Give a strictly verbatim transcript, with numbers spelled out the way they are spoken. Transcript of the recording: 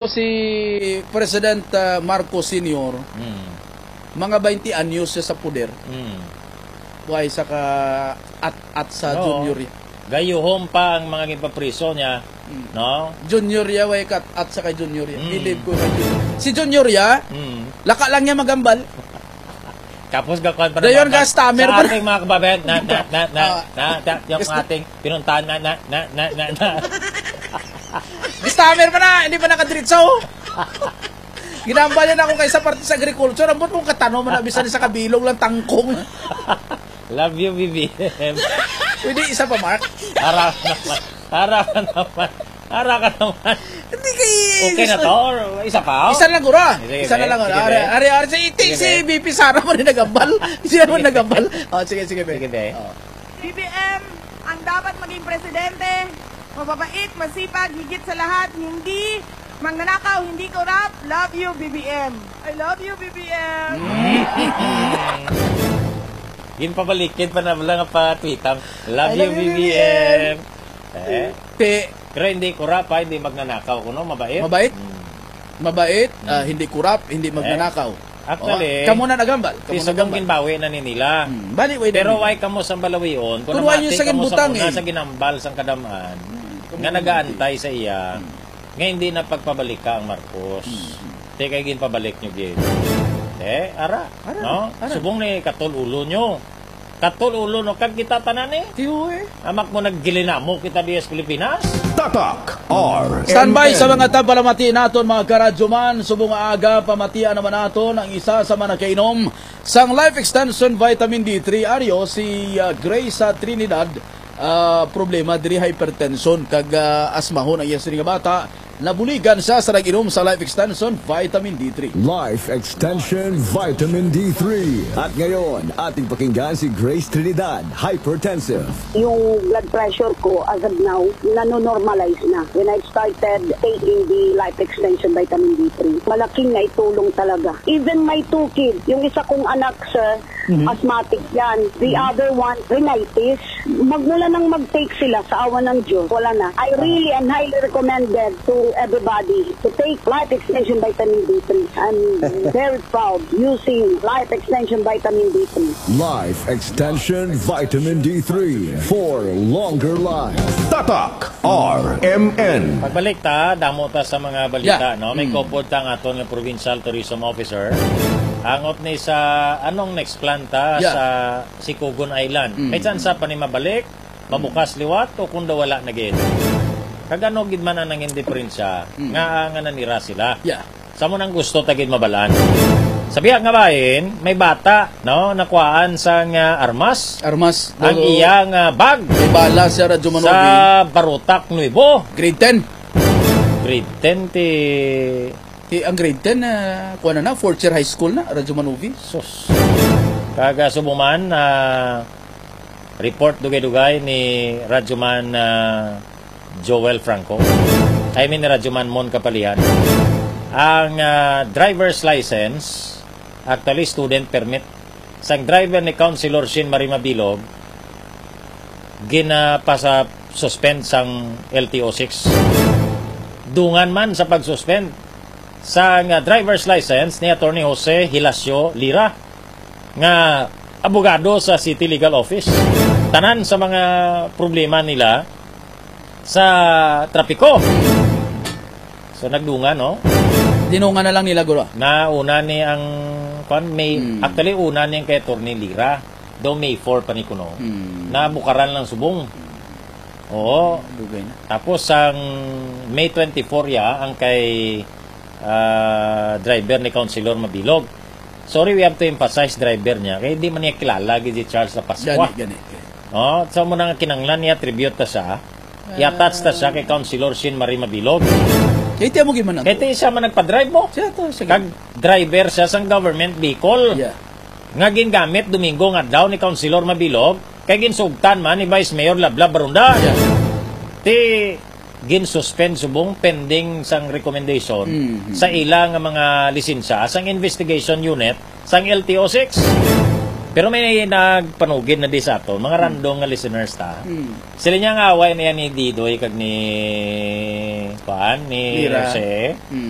Si President, ah, Marcos Senior, Mm. mga twenty anyos siya sa poder. Mm. Buhay sa ka at, at sa Oo. Junior ya. Gayuhom pa ang mga ginpapriso niya, Mm. no? Junior ya, way kat at sa kay Junior ya. Mm. Believe ko kay Junior. Si Junior ya, Mm. laka lang niya magambal. Tapos gakuan pa Dayon naman ka, stammer sa pa na. ating mga kababayan, na, na, na, na, Ah. na, na, yung Gusto ating pinuntahan na, na, na, na, na, na. Stammer pa na, hindi pa nakadiritso. Ginambal yan ako kay sa parte sa agriculture. Ambot mo katanom na bisan sa kabilog lang tangkong. Love you, B B M. Pwede isa pa, Mark? Harap naman. Harap naman. Harap ka naman. Hindi kay Okay na to? Or isa pa? Isa lang gura. Sige, Isa na sige. lang gura. Sige, Ari, sige. ari, ari, si, Sige, si sige. B P Sara mo rin nagambal. Siya mo Sige. nagambal. Oh, sige, sige, be. Sige, be. Oh. B B M, ang dapat maging presidente, mababait, masipag, higit sa lahat, hindi magnanakaw, hindi corrupt. Love you, B B M. I love you, B B M. Ginpabalikid pa na lang ang pa-tweet ang, "Love I you, love you, B B M." B B M. Eh? Ti- Pero hindi corrupt, ha? Hindi magnanakaw kuno, mabait. Mabait? Hmm. Mabait, Hmm. ah, hindi corrupt, hindi Eh? magnanakaw. Actually, Oh, kamo na nagambal, kamo si Sugong nagambal. ginbawi na ni nila. Hmm, bali, wait a Pero minute. why kamo sa balawion? Kung Kung why namati yung sa kamo sa gimbutang, una eh. sa ginambal sang kadaman, Hmm, kamo nga na nagaantay sa iya, Hmm. nga hindi na pagpabalika ang Marcos. Hmm. Te, kay ginpabalik nyo gid. Eh, ara, Ara, no? ara. Subong ni katol ulo nyo. Katol ulo, no? Kag kita tanan, eh. Tiyo, eh. Amak mo naggilinamo kita diya sa Pilipinas? Tatak R M N. Standby sa mga tagpalamati naton, mga karadyoman. Subong nga aga, pamatian naman naton ang isa sa mga nakainom sang Life Extension Vitamin D three Aryo, si, ah, Grace, ah, Trinidad. Ah, problema diri, hypertension kag, ah, asmahon ang iya sining nga bata. Nabuligan siya sa nag-inom sa Life Extension Vitamin D three. Life Extension Vitamin D three. At ngayon, ating pakinggan si Grace Trinidad, hypertensive. Yung blood pressure ko as of now, nanonormalize na. When I started taking the Life Extension Vitamin D three, malaking naitulong talaga. Even my two kids, yung isa kong anak, sir, Mhm. asthmatic yan. The Mhm. other one, rhinitis. Magmula nang mag-take sila sa awa ng Diyos, wala na. I Ah. really and highly recommended to everybody to take Life Extension Vitamin D three. I'm very proud using Life Extension Vitamin D three. Life Extension Vitamin D three for longer life. Tatak R M N. Pagbalik ta, damo ta sa mga balita, Yeah. no? May Mm. kaupod ta ang aton nga provincial tourism officer. Hangot ni sa, anong next plan ta Yeah. sa Sikugon Island? Mm. May tsansa pa ni mabalik, mabukas liwat, o kung daw wala na gid? Kag ano gid man ang nangin diferensya Mm. nga, nga nanira sila? Yeah. Sa mo nang gusto ta gid mabalaan. Sa biya nga bahin, may bata, no, nakuhaan sang, ah, armas. Armas. Ang Dolo. iyang, ah, bag. May bala siya, Radyo Manobi. Sa Barutak Nuevo. Grade ten. Grade ten ti Ti, ang grade ten, ah, kuha na na, fourth year high school na, Radyo Manobi. Sus. Kaga subuman, ah, report dugay-dugay ni Radyoman, ah, Joel Franco. I mean, ni Radyoman Mon Kapalian. Ang, ah, driver's license, actually, student permit, sang driver ni Councilor Shin Marie Mabilog, ginapasa-suspend sang L T O six. Dungan man sa pag-suspend sang, ah, driver's license ni Attorney Jose Hilacio Lira nga abogado sa City Legal Office. Tanan sa mga problema nila sa trapiko. So, nagdungan, no? Dinungan na lang nila, guro. Na una ni ang, kwan, may, Hmm. actually, una ni ang kay Attorney Lira. Daw May four pa ni kuno. Hmm. Na bukaran lang subong. Oo. Dugay na. Tapos, ang May twenty-four ya, ang kay, ah, driver ni Councilor Mabilog. Sorry, we have to emphasize driver niya. Kaya di man niya kilala, gid si Charles La Pascua. Gani, gani, gani. Oh, so mo na nga kinanglan niya, tribute ta siya. I-attach ta siya kay Councilor Shin Marie Mabilog. Kay ti amo gid man ato. Kay ti siya man nagpa-drive mo. Siya to, siya. Kag driver siya sang government vehicle. Yeah. Nga gingamit Domingo nga adlaw ni Councilor Mabilog, kay ginsugtan man ni Vice Mayor Lablab Barunda. Yeah. Ti ginsuspend subong pending sang recommendation Mhm. sa ila nga mga lisensya sang investigation unit sang L T O six. Pero may nagpanugid na di sa aton, mga random nga listeners ta. Mm. Sila niya nga away na yan ni Didoy kag ni Kuan ni Lira. Jose. Mm.